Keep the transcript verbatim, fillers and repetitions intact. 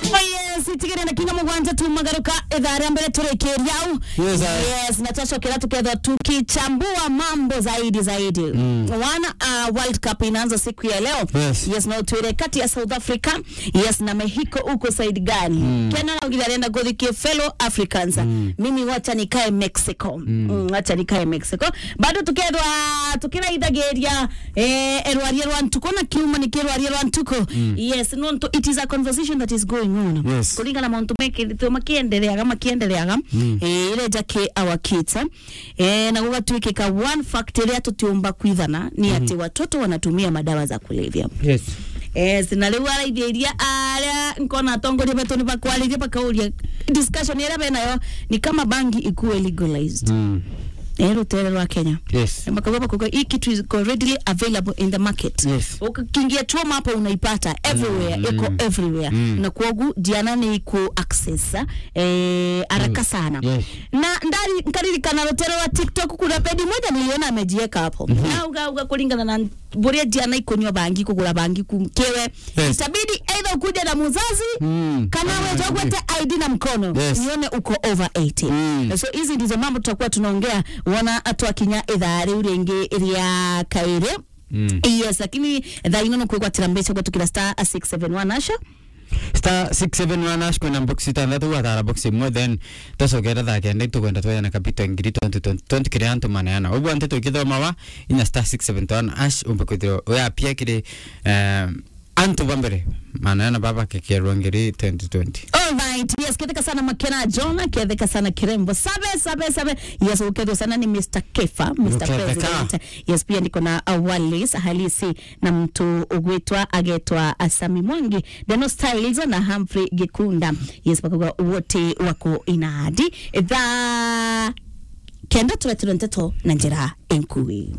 Oh yes, itigere na kinga mugwanja tumagaruka ithaa ria mbere turikiria au. Yes, I- Yes, na twacokera tukethwa tukichambua mambo zaidi zaidi. Mm. One, uh, World Cup inaanza siku ya leo. Yes. Yes, na utwire kati ya South Africa, yes, na Mexico uko side gani? Mm. Kena na ugira renda guthi ki fellow Africans. Mm. Mimi wacha nikae Mexico. Mm. Mm, wacha nikae Mexico. Bado tukethwa tukiraithagiria, eh, erwaria rwa ntuko na kiuma ni kirwaria rwa ntuko. Mm. Yes, no ntu, it is a conversation that is going on. Yes. Kuringana na mauntu mekithitwe makiendereaga, makiendereaga. Mm. Eh, ireja ki our kids. Eh, na gugatuikika one fact iria tutiumba kwithana ni ati watoto wanatumia madawa za kulevya. Yes. Yes, na riu araithia iria aria nkona atongoria betu ni bakwariria bakauria discussion iria benayo ni kama bangi ikuwe legalized. Mm. Eh, rutere rwa Kenya. Yes. Bakauga, bakauga, "Hii kitu is readily available in the market." Yes. Ukiingia Choma hapo unaipata everywhere, Mm. iko everywhere. Mm. Na kwogu diana ni iku access, eh, haraka Mm. sana. Yes. Na ndari-, nkaririkana rutere rwa TikTok, kuna pedi moja niliona amejieka hapo. Mhm. Na uga, uga kuringana na buria diana ikunywa bangi, kugura bangi ku-, kiwe. Yes. Itabidi either ukuje na muzazi, Mm. kana Kana wewe na ugwete I D na mkono, Yes. nione uko over eighteen. Mm. So hizi ndizo mambo tutakuwa tunaongea wona atwakinya ithaa riu ringi ria kairi. Mm. Yes, lakini thaa ino no kwigwatira mbeca gwatukira star six seven one hash. Star six seven one hash, kwina box itantatu, watara box imwe, then twacokera thaa kenda, itukwenda twejana kapito ngiri twenty, twenty, twenty kiri antu maneana. Uguo nteto ikithomawa, inya star six seven one hash, umbe kwithirwa uyapia kiri, eh, antu ba mbere, maneana baba kekerwa ngiri twenty twenty. All right, yes, ketheka sana Makena John, ketheka sana Kirembo. Sabe, sabe, sabe. Yes, ukethwa sana ni Mister Kefa, Mister Uketheka. President. Yes, pia niko na, uh, Wallace Halisi na mtu ugwitwa agetwa Asami Mwangi, Deno Styles na Humphrey Gikunda. Yes, bakauga wote wako inadi. Thaa kenda turetirwe nteto na njira enkui.